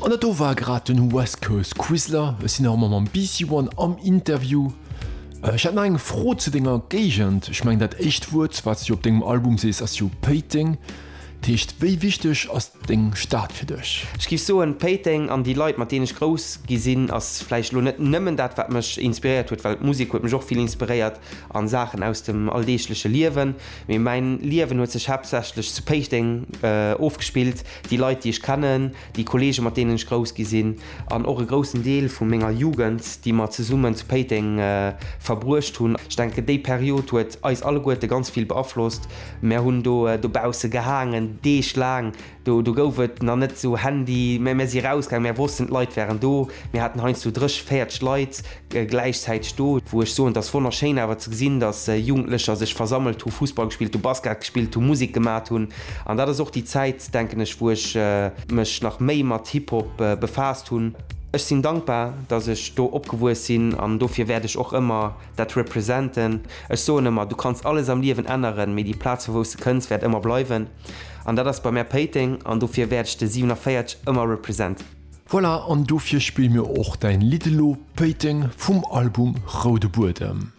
An dat do war grad den West Coast Quizler. Ech sinn nach ëmmer mam BC One am Interview. Ech hätt nach eng Fro zu denger Géigend. Ech mengen dat éischt Wuert wat s du op dengem Album sees ass jo Péiteng. Dat heescht wéi wichteg ass deng Stad fir dech? Ech géif soen, Péiteng an déi Leit mat deenen ech grouss gi sinn ass vläicht elo net nëmmen dat wat mech inspiréiert huet, well d'Musek huet mech och vill inspiréiert an Saachen aus dem alldeegleche Liewen, mee mäin Liewen huet sech haaptsächlech zu Péiteng ofgespillt. Déi Leit déi ech kennen, déi Kollegen mat deenen ech grouss gi sinn an och e groussen Deel vu menger Jugend, déi mer zesummen zu Péiteng verbruecht hunn. Ech denken, déi Period huet eis alleguerte ganz vill beaflosst. Mär hunn do dobausse gehaangen, Deeg laang. Do gouf et nach net esou Handy, mä mär si rausgaangen, mär wossten, d'Leit wären do. Mir haten heiansdo 30, 40 Leit gläichzäiteg do, wou ech soen, et ass wonnerschéin awer ze gesinn, datt Jugendlecher sech versammelt hu, Fussball gespillt hu, Basket gespillt hu, Musek gemat hunn. An dat ass och déi Zäit, denken ech, wou ech mech nach méi mat Hip-Hop befaasst hunn. Ech sinn dankbar, datt ech do opgewuess sinn an dofir wäert ech och ëmmer dat representen. Ech soen ëmmer, du kanns alles am Liewen änneren, mee déi Plaz vu wou s de kënns wäert ëmmer bleiwen. An dat ass bei mär Péiteng an dofir wäert ech de 47 ëmmer representen. Voilà, an dofir spille mir och däin Lidd elo, Péiteng vum Album Roude Buedem.